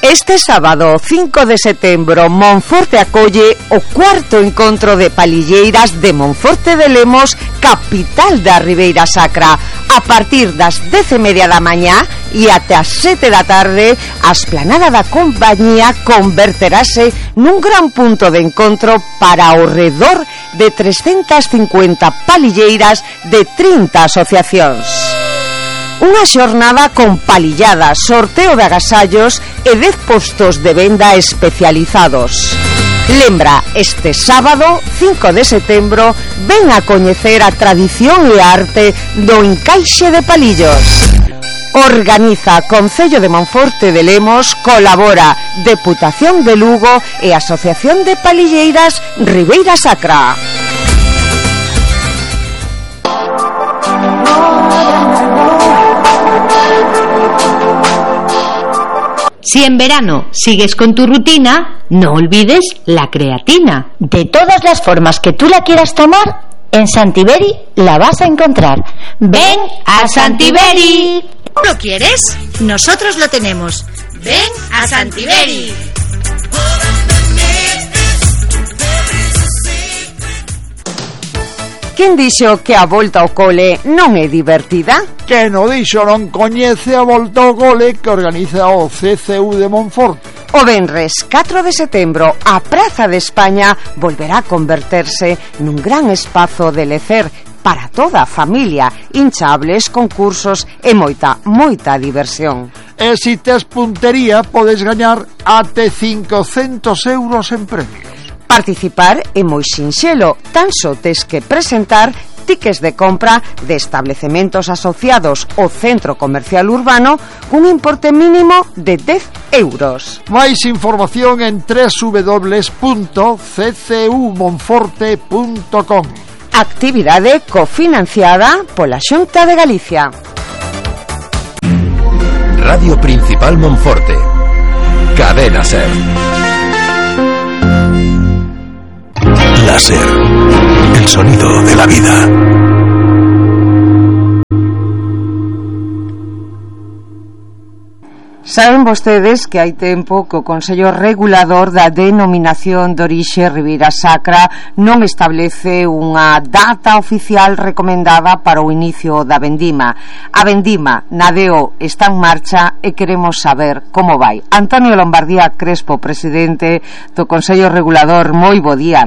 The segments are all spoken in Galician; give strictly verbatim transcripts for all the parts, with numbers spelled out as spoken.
Este sábado cinco de setembro Monforte acolle o cuarto encontro de palilleiras de Monforte de Lemos, capital da Ribeira Sacra. A partir das dez e media da mañá e até as sete da tarde, a esplanada da compañía converterase nun gran punto de encontro para ao redor de trescentas cincuenta palilleiras de trinta asociacións. Unha xornada con palilladas, sorteo de agasallos e dez postos de venda especializados. Lembra, este sábado, cinco de setembro, ven a coñecer a tradición e a arte do encaixe de palillos. Organiza Concello de Monforte de Lemos, colabora Deputación de Lugo e Asociación de Palilleiras Ribeira Sacra. Si en verano sigues con tu rutina, no olvides la creatina. De todas las formas que tú la quieras tomar, en Santiberi la vas a encontrar. ¡Ven a Santiberi! ¿Lo quieres? Nosotros lo tenemos. ¡Ven a Santiberi! Quen dixo que a volta ao cole non é divertida? Quen o dixo non coñece a volta ao cole que organiza o C C U de Monforte. O venres catro de setembro a Praza de España volverá a converterse nun gran espazo de lecer para toda a familia, hinchables, concursos e moita, moita diversión. E se tes puntería podes gañar até cincocentos euros en premios. Participar é moi sinxelo, tan só tes que presentar tickets de compra de establecementos asociados ao centro comercial urbano cun importe mínimo de dez euros. Máis información en doble u doble u doble u punto c c u monforte punto com. Actividade cofinanciada pola Xunta de Galicia. Radio Principal Monforte. Cadena Ser. Láser, el sonido de la vida. Saben vostedes que hai tempo que o Consello Regulador da Denominación de Orixe Ribeira Sacra non establece unha data oficial recomendada para o inicio da vendima. A vendima na Deo está en marcha e queremos saber como vai. Antonio Lombardía Crespo, presidente do Consello Regulador, moi bo día.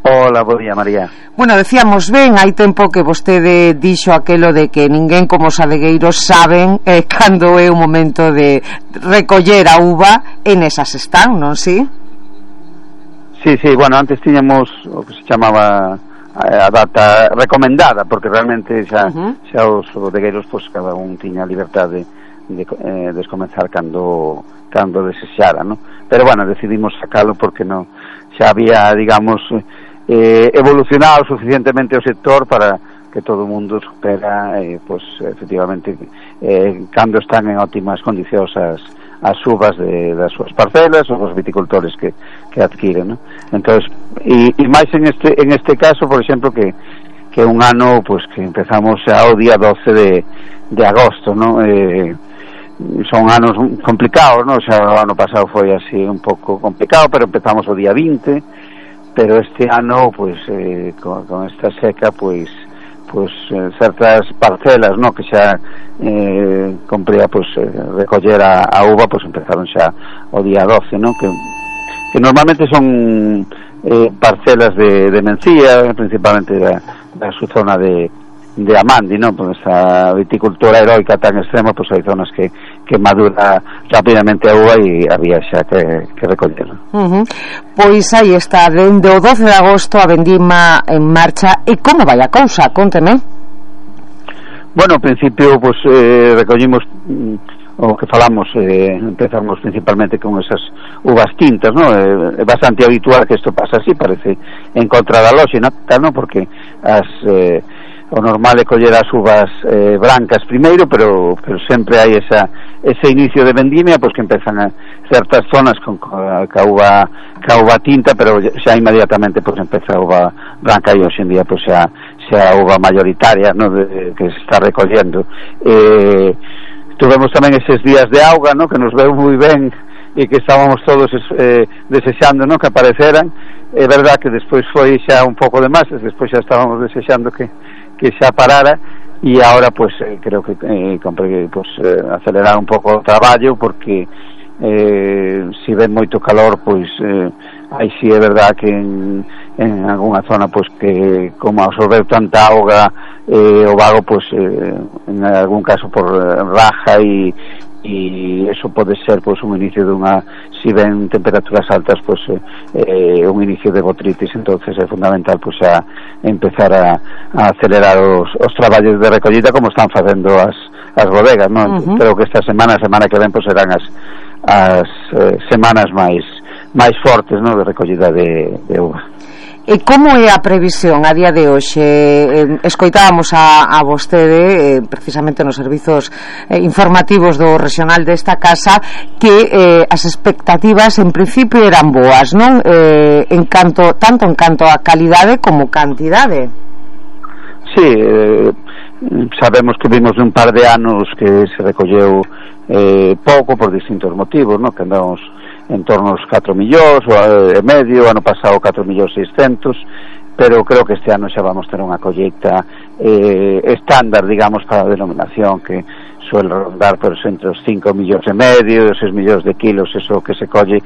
Hola, bo día, María. Bueno, decíamos ben, hai tempo que vostede dixo aquelo de que ninguén como os adegueiros saben eh, cando é o momento de recoller a uva, e nesas están, non si? Sí, sí, bueno, antes tiñamos o que se chamaba a data recomendada, porque realmente xa, uh-huh. xa os adegueiros, pois, cada un tiña a liberdade de, eh, de comenzar cando, cando desexara, ¿no? Pero, bueno, decidimos sacalo porque non xa había, digamos, eh, evolucionado suficientemente o sector para que todo o mundo supera, eh, pues, efectivamente, eh, cando están en óptimas condicións as, as uvas de, das súas parcelas ou os viticultores que, que adquiren, ¿no? Entonces, e, e máis en este, en este caso, por exemplo, que, que un ano, pues, que empezamos xa o día doce de, de agosto, ¿no? Eh, son anos complicados, ¿no? O sea, o ano pasado foi así un pouco complicado, pero empezamos o día vinte, pero este ano, pues, eh, con, con esta seca, pues, pues eh, certas parcelas, ¿no? Que xa eh, compría, pues, eh, recoller a, a uva, pues empezaron xa o día doce, ¿no? Que, que normalmente son eh, parcelas de, de Mencía, principalmente da, da su zona de de Amandi, ¿no? Por esta viticultura heroica tan extrema, pues hai zonas que, que madura rápidamente a uva e había xa que, que recollerla. Uh-huh. Pois aí está, dende o doce de agosto a vendima en marcha. E como vai a cousa? Conteme. Bueno, ao principio, pues, eh, recollimos mm, o que falamos, eh, empezamos principalmente con esas uvas tintas, ¿no? É eh, bastante habitual que isto pasa así, parece en contra da lóxica, ¿no? Porque as... Eh, o normal é coller as uvas eh, brancas primeiro, pero, pero sempre hai esa, ese inicio de vendimia, pois, que empezan a certas zonas con ca uva, ca uva tinta, pero xa inmediatamente, pois, empeza a uva branca, e hoxe en día, pois, xa, xa a uva mayoritaria, ¿no? de, que se está recollendo. Eh, tuvemos tamén eses días de auga, no, que nos veu moi ben e que estábamos todos eh, desexando, no, que apareceran. É verdad que despois foi xa un pouco de máis, despois xa estábamos desexando que, que xa parara, e agora pues eh, creo que eh, compre, pues, eh, acelerar un pouco o traballo, porque eh, si ven moito calor, pois eh, aí si é verdad que en, en algunha zona pois que como absorbeu tanta auga eh, o vago, pois eh, en algún caso por eh, raja, e e eso pode ser pois un inicio dunha, si ven temperaturas altas, pois eh, un inicio de botritis. Entonces é fundamental pois a empezar a, a acelerar os, os traballos de recollida, como están facendo as, as bodegas, non? Uh-huh. Creo que esta semana, a semana que ven, pois serán as, as eh, semanas máis máis fortes, non, de recollida de, de uva. E como é a previsión a día de hoxe? Eh, escoitábamos a, a vostede, eh, precisamente nos servizos eh, informativos do regional desta casa, que eh, as expectativas en principio eran boas, non? Eh, en canto, tanto en canto a calidade como cantidade. Sí, eh, sabemos que vimos un par de anos que se recolleu eh, pouco por distintos motivos, non? Que andamos en torno aos catro millóns e medio, ano pasado catro millóns seiscentos, pero creo que este ano xa vamos ter unha colleita eh, estándar, digamos, para a denominación, que suele rondar por entre os cinco millóns e medio e os seis millóns de kilos, eso que se colle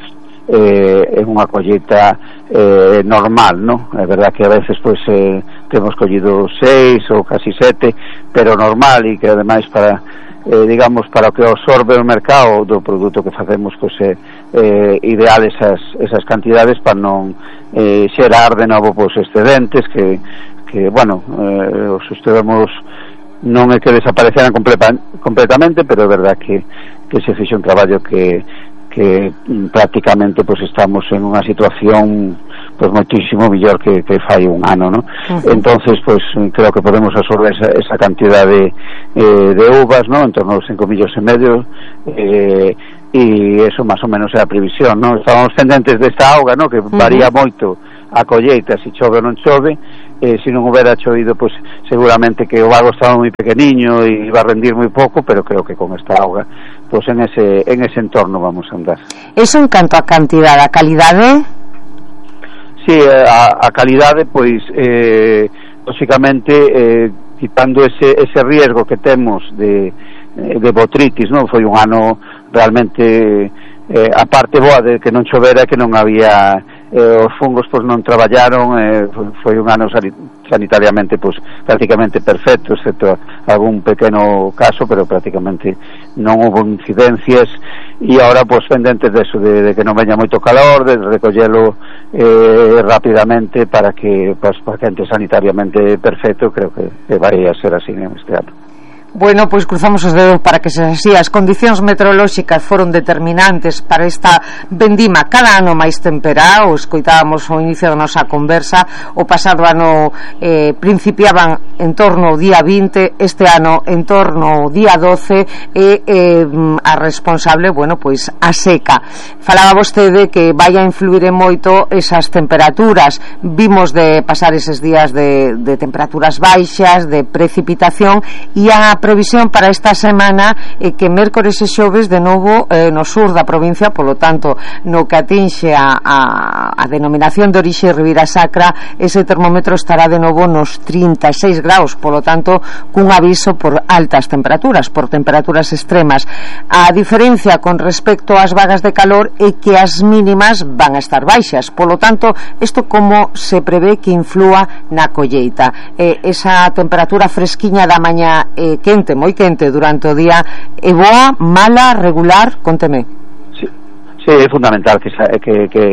eh, en unha colleita eh, normal, non? É verdad que a veces pois eh, temos collido seis ou casi sete, pero normal, e que ademais para Eh, digamos, para o que absorbe o mercado do produto que facemos, pois é eh, ideal esas, esas cantidades para non eh, xerar de novo pois excedentes que, que bueno, eh, os estivemos, non é que desapareceran completa, completamente, pero é verdad que, que se fixe un traballo que que prácticamente pues estamos en unha situación pues moitísimo mellor que, que fai un ano, ¿no? Uh-huh. Entonces pues creo que podemos absorber esa, esa cantidad de, eh, de uvas, ¿no? En torno aos cinco millóns e medio, eh, e eso máis ou menos é a previsión, ¿no? Estábamos pendentes desta auga, ¿no? Que varía uh-huh. moito a colleita, se chove ou non chove. Eh, se non houbera chovido, pues seguramente que o vago estaba moi pequeniño e iba a rendir moi pouco, pero creo que con esta auga pues en ese en ese entorno vamos a andar. Eso en canto a cantidade, a calidade? Sí, a, a calidade, pois eh, lógicamente eh, quitando ese, ese riesgo que temos de, de botritis, non? Foi un ano realmente eh, a parte boa de que non chovera, que non había eh, os fungos pois non traballaron, eh, foi un ano sanitariamente pois prácticamente perfecto, excepto algún pequeno caso, pero prácticamente non houve incidencias, e agora pois pendentes deso, de, de que non veña moito calor, de recollelo eh, rapidamente para que pois, para que ente sanitariamente perfecto. Creo que, que vai a ser así en este ano. Bueno, pois cruzamos os dedos para que se así. As condicións meteorolóxicas foron determinantes para esta vendima cada ano máis temperada. O escoitábamos ao inicio da nosa conversa, o pasado ano eh, principiaban en torno ao día vinte, este ano en torno ao día doce, e eh, a responsable, bueno, pois a seca. Falaba vostede que vai a influir en moito esas temperaturas. Vimos de pasar eses días de, de temperaturas baixas, de precipitación, e a previsión para esta semana é que mércores e xoves de novo eh, no sur da provincia, polo tanto no que atinxe a, a, a denominación de orixe Ribeira Sacra, ese termómetro estará de novo nos trinta e seis graus, polo tanto cun aviso por altas temperaturas, por temperaturas extremas. A diferencia con respecto ás vagas de calor é que as mínimas van a estar baixas, polo tanto isto como se prevé que inflúa na colleita. Eh, esa temperatura fresquiña da mañá eh, quente, moi quente durante o día, é boa, mala, regular? Conteme. Sí, sí, é fundamental que, que, que,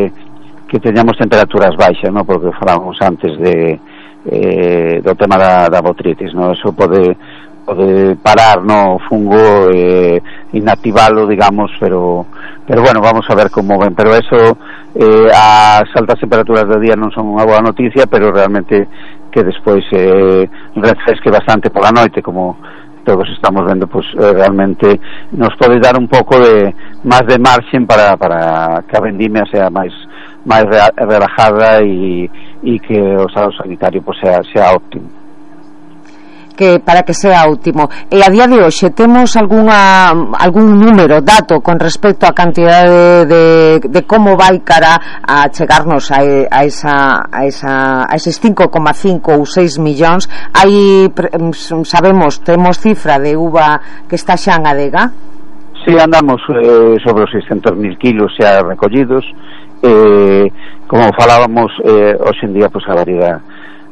que teñamos temperaturas baixas, ¿no? Porque falábamos antes de eh, do tema da, da botritis, ¿no? Eso pode pode parar, ¿no? O fungo, eh, inactivalo, digamos, pero pero bueno, vamos a ver como ven, pero eso eh, as altas temperaturas do día non son unha boa noticia, pero realmente que despois eh, refresque bastante pola noite, como todos estamos vendo, pues eh, realmente nos pode dar un pouco de máis de marxen para, para que a vendimia sea máis máis relajada e, e que o estado sanitario pues, sea, sea óptimo. que para que sea óptimo. E a día de hoxe temos algunha algún número, dato con respecto á cantidade de, de, de como vai cara a chegarnos a, a esa a esa a eses cinco coma cinco ou seis millóns. Hai, sabemos, temos cifra de uva que está xa en adega. Sí, andamos eh, sobre os seiscentos mil kilos xa recollidos. Eh, como falábamos, eh, hoxe en día pues, a variedade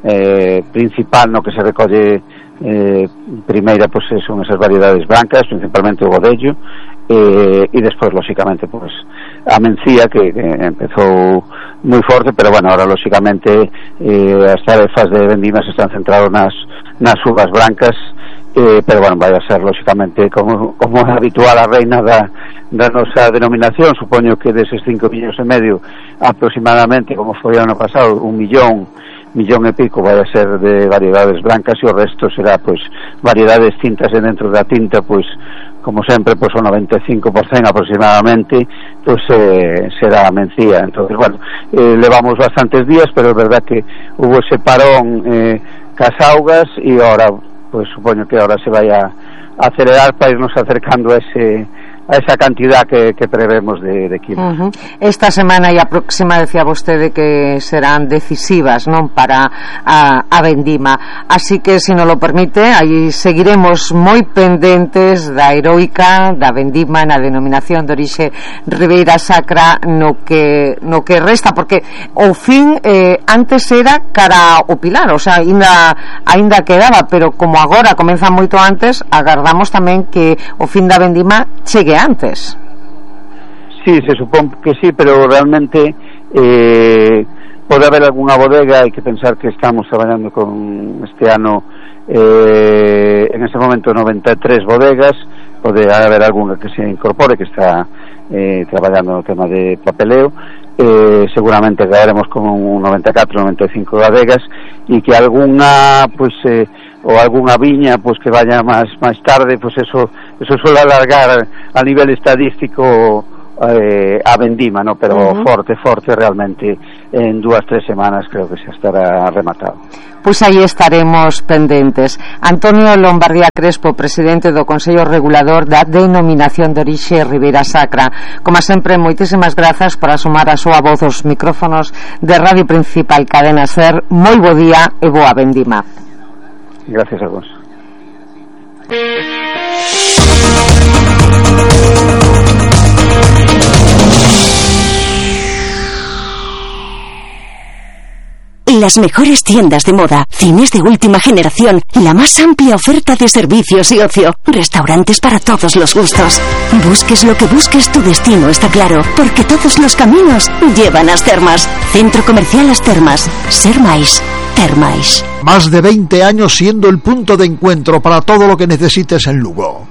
eh, principal no que se recolle eh, primeira pues, son esas variedades brancas, principalmente o godello, eh, e despois lóxicamente pues, a mencía que, que empezou moi forte, pero bueno, ahora lóxicamente eh, as tarefas de vendima se están centradas nas, nas uvas brancas. Eh, pero bueno, vai a ser lóxicamente como, como é habitual a reina da, da nosa denominación. Supoño que deses cinco millóns e medio aproximadamente, como foi ano pasado, un millón millón e pico vai a ser de variedades brancas e o resto será pois variedades tintas, e dentro da tinta pois como sempre pois o noventa e cinco por cento aproximadamente pois eh, será a mencía. Entonces bueno, eh, levamos bastantes días, pero é verdad que hubo ese parón eh, cas augas e ahora pues supoño que ahora se vai a acelerar para irnos acercando a ese a esa cantidad que, que prevemos de, de kilos. Uh-huh. Esta semana e a próxima decía vostede que serán decisivas, non, para a, a vendima, así que se nos lo permite, aí seguiremos moi pendentes da heroica da vendima na denominación de orixe Ribeira Sacra no que no que resta, porque o fin eh, antes era cara o Pilar, o sea, ainda ainda quedaba, pero como agora comeza moito antes, agardamos tamén que o fin da vendima chegue antes. Sí, se supón que sí, pero realmente eh, pode haber algunha bodega. Hai que pensar que estamos traballando con este ano eh, en ese momento noventa e tres bodegas. Pode haber algunha que se incorpore, que está eh, traballando no tema de papeleo. Eh, seguramente caeremos con un noventa e catro, noventa e cinco bodegas, e que algunha pues eh, ou algunha viña pues que vaya máis máis tarde, pues eso eso suele alargar a nivel estadístico eh, a vendima, ¿no? Pero uh-huh. forte, forte realmente en dúas, tres semanas creo que xa estará rematado. Pois aí estaremos pendentes. Antonio Lombardía Crespo, presidente do Consello Regulador da Denominación de Orixe Ribeira Sacra. Como sempre, moitísimas grazas por asumar a súa voz aos micrófonos de Radio Principal Cadena Ser. Moi bo día e boa vendima. Gracias a vos. Las mejores tiendas de moda, cines de última generación, la más amplia oferta de servicios y ocio, restaurantes para todos los gustos. Busques lo que busques, tu destino está claro, porque todos los caminos llevan a As Termas. Centro Comercial As Termas. Ser máis. Termais. Más de veinte años siendo el punto de encuentro para todo lo que necesites en Lugo.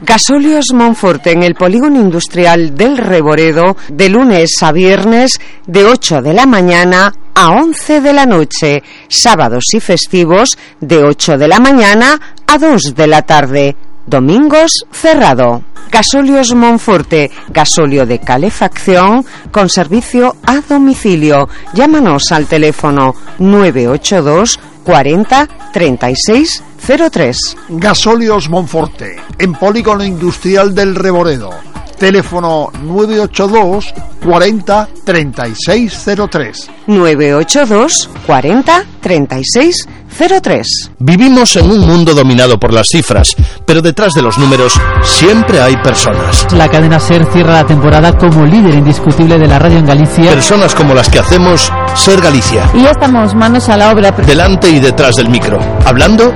Gasóleos Monforte en el polígono industrial del Reboredo, de lunes a viernes de ocho de la mañana a once de la noche, sábados y festivos de ocho de la mañana a dos de la tarde, domingos cerrado. Gasóleos Monforte, gasóleo de calefacción con servicio a domicilio. Llámanos al teléfono nueve ocho dos cuarenta treinta y seis cero tres. Gasóleos Monforte, en polígono industrial del Reboredo. Teléfono nueve ocho dos cuarenta treinta y seis cero tres. nueve ocho dos cuarenta treinta y seis cero tres. Vivimos en un mundo dominado por las cifras, pero detrás de los números siempre hay personas. La cadena SER cierra la temporada como líder indiscutible de la radio en Galicia. Personas como las que hacemos Ser Galicia. Y ya estamos manos a la obra. Delante y detrás del micro, hablando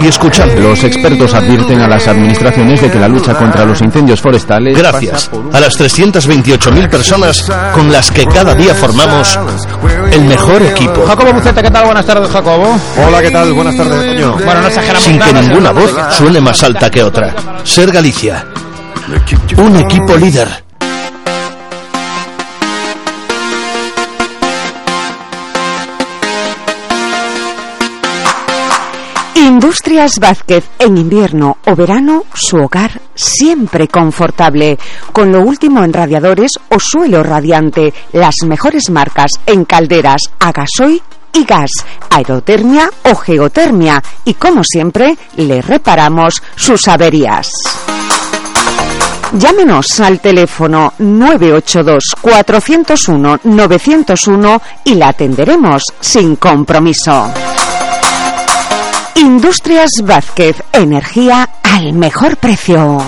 y escuchando. Los expertos advierten a las administraciones de que la lucha contra los incendios forestales... Gracias a las trescientas veintiocho mil personas con las que cada día formamos el mejor equipo. Jacobo Buceta, ¿qué tal? Buenas tardes, Jacobo. Hola, ¿qué tal? Buenas tardes, Toño. Bueno, no exageramos Sin nada, que ninguna voz nada. suene más alta que otra. Ser Galicia. Un equipo líder. Industrias Vázquez, en invierno o verano, su hogar siempre confortable. Con lo último en radiadores o suelo radiante, las mejores marcas en calderas a gasoil y gas, aerotermia o geotermia, y como siempre le reparamos sus averías. Llámenos al teléfono nueve ocho dos, cuatro cero uno, nueve cero uno y la atenderemos sin compromiso. Industrias Vázquez, energía al mejor precio.